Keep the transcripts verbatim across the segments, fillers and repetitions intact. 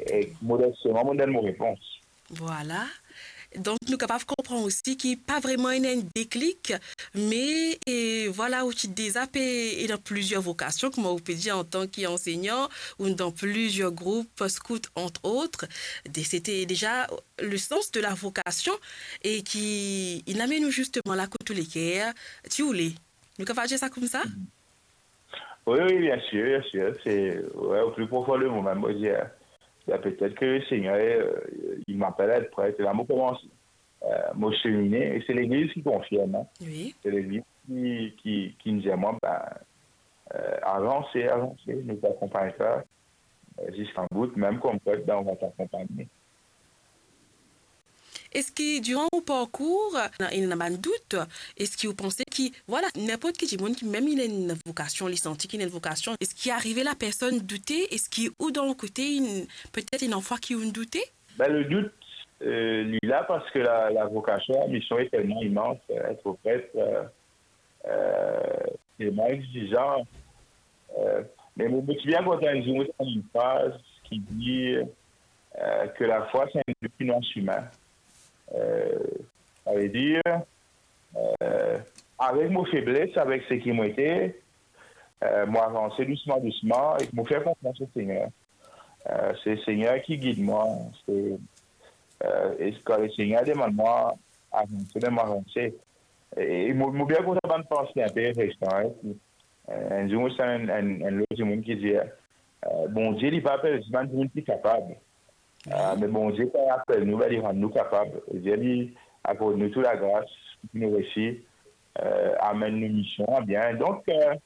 Exactement. E modesteman, mo donn mo repons. Vwala. Donk, nou kapav konpran osi ki pa vreman ena enn deklik, me, e, vwala, ou ti deza pe ena plizier vokasion, kouma ou pe dir, antan ki ansegnan, ou dan plizier group, scout, entre autres. De, se ti deza le sans de la vocation e ki inn amenn ou zisteman la kot ou leker ti oule. Nou kapav dir sa koumsa? Wi, wi, bien sir, bien sir. Se, wi, o pli profon de mo mem, mo dir, ben, petet ke Lesegner, euh, il m'appelle à être prêtre. E la, mo koumans, euh, mo semine, e se Legliz ki konfirm, hein. Wi. Se Legliz ki, ki, ki dir mwa, ben, euh, avanse, avanse, nou pe akonpagn twa, euh, ziska bout, mem kom pret, ben, on va t'accompagner. Eski diran ou parkour, ena, ena bann dout? Eski ou panse ki, vwala, ninport ki dimoun ki mem li ena enn vokasion, li santi ki li ena enn vokasion, eski arive lapersonn doute? Eski ou dan ou kote, inn, petet ena fwa ki ou'nn doute? Ben, le dout, euh, li la parski la, la vokasion, la mision est tellement immense, euh, être prêtre, euh, euh, tellement exigeant. Euh, me mo, mo ti bien kontan enn zour mo tann enn fraz ki dir, euh, ke lafwa se enn dout ki nou asime. Euh, savedir, euh, avek mo febles, avek seki mo ete, euh, mo avanse dousman, dousman, e mo fer konfians o Segner. Euh, se Segner ki gid mwa, se, euh, e kan Lesegner demann mwa avanse, be mo avanse. E, e mo, mo bien kontan bann panse inpe resan, hein, ki, euh, enn zour mo tann enn, enn, enn lot dimoun ki dir, euh, Bondie, li pa apel zis bann dimoun ki kapav. Euh, me Bondie, kan li apel nou, be li rann nou kapav. Li, li akord nou tou lagras pou nou resi, euh, amenn nou mision a bien. Donk, euh,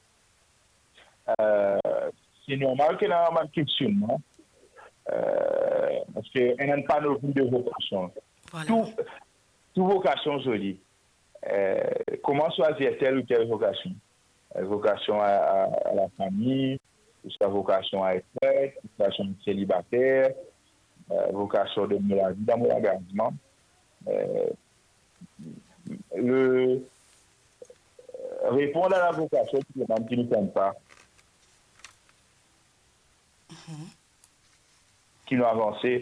euh, se normal ki ena bann kestionnman, euh, parski ena enn panopli de vokasion. Vwala. Tou, tou vokasion zoli. Euh, kouma swazir tel ou tel vokasion? Euh, vokasion a, a, a lafami, ouswa vokasion a et pret, vokasion a et selibater, euh, vokasion de mo lavi dan mo langazman. Euh, le, euh, reponn a la vokasion ki demann ki nou konn pa. Mhm. Ki nou avanse,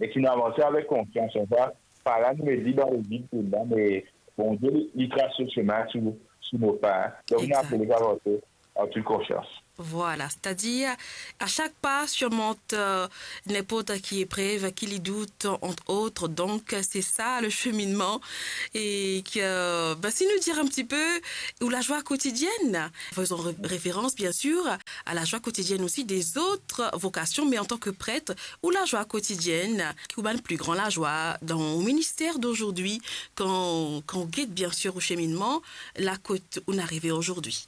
e ki nou avanse avek konfians. Anfin, pa la nou met li dan levid koumsa, me Bondie, li, li tras so semin sou, sou nou pa. Donk, nou apel avanse an tout konfians. Vwala, setadir, a sak pa sirmont, euh, ninport ki eprev, ki li dout, entre autres. Donk, se sa le cheminement. E ki, ben, si nou dir enn ti pe, ou lazwa kotidienn, faisons ré-, référence, bien sûr, à la joie quotidienne aussi des autres vocations, mais en tant que prêtre, ou lazwa kotidienn, ki ou bann pli gran lazwa dan ou minister d'aujourd'hui, kan, kan ou get, bien sûr, ou cheminement, la kot ou'nn arive aujourd'hui?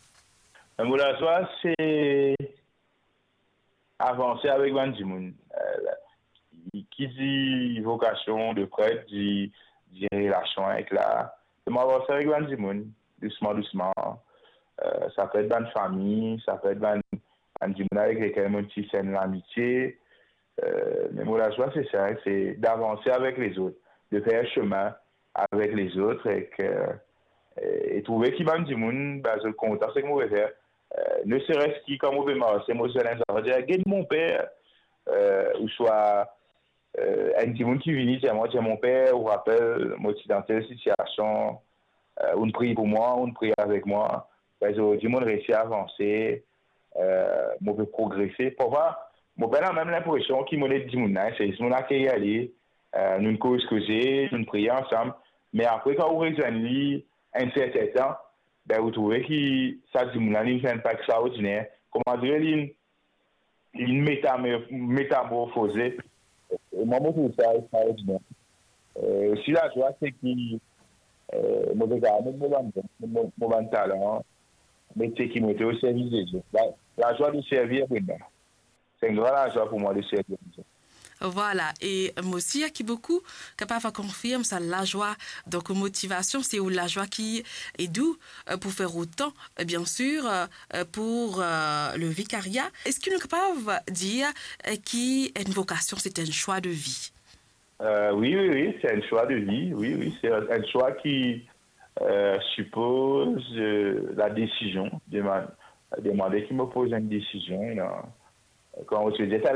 Mo lazwa, se avanse avek bann dimoun. Euh, ki dir vokasion de pret, dir, dir relasion avek la, mo avanse avek bann dimoun, dousman, dousman. Euh, sa pe et bann fami, sa pe et bann, bann dimoun avek lekel mo ti fer enn lamitie. Euh, me mo lazwa, se sa, se d'avanse avek lezot, de fer semin avek lezot, ek, euh, e trouve ki bann dimoun, ben, zot kontan seki mo pe fer. Euh, ne serait-ce ki kan mo pe marse, mo dir enn zafar, dir, "Get mon per," euh, ouswa, euh, enn dimoun ki vini dir mwa, dir, "Mon per, ou rapel, mo ti dan tel sitiasion, euh, ou'nn priy pou mwa, ou'nn priy avek mwa." Ben, zordi, mo'nn resi avanse, euh, mo pe progrese. Parfwa, mo pena mem linpresion ki mo ed dimoun la, se zis mo'nn akeyir li, euh, nou'nn koz koze, nou'nn priye ansam. Me apre, kan ou rezwenn li enn serten tan, ben, ou trouve ki sa dimoun la, li fer enn pa extraordiner. Kouma dir, li, li metame-, metamorfoze. E mwa, mo trouv sa extraordiner. Euh, si lazwa, se ki, euh, mo pe kapav met mo bann, mo, mo bann talan, met seki mo ete o servis de Dieu. La, lazwa de servir, pou mwa. Se enn gran lazwa pou mwa de servi Bondie. Vwala, e mo sir ki boukou kapav konfirm sa lazwa. Donk, motivasion, se ou lazwa ki ed ou, euh, pou fer otan, euh, bien sûr, euh, pour, euh, le vicariat. Eski nou kapav dir, euh, ki enn vokasion, se enn swa de vi? Euh, wi, wi, wi, se enn swa de vi, wi, wi, se enn, enn swa ki, euh, sipoz, euh, la desizion, demann-, demande ki mo poz enn desizion, non? Kan ou ti dir,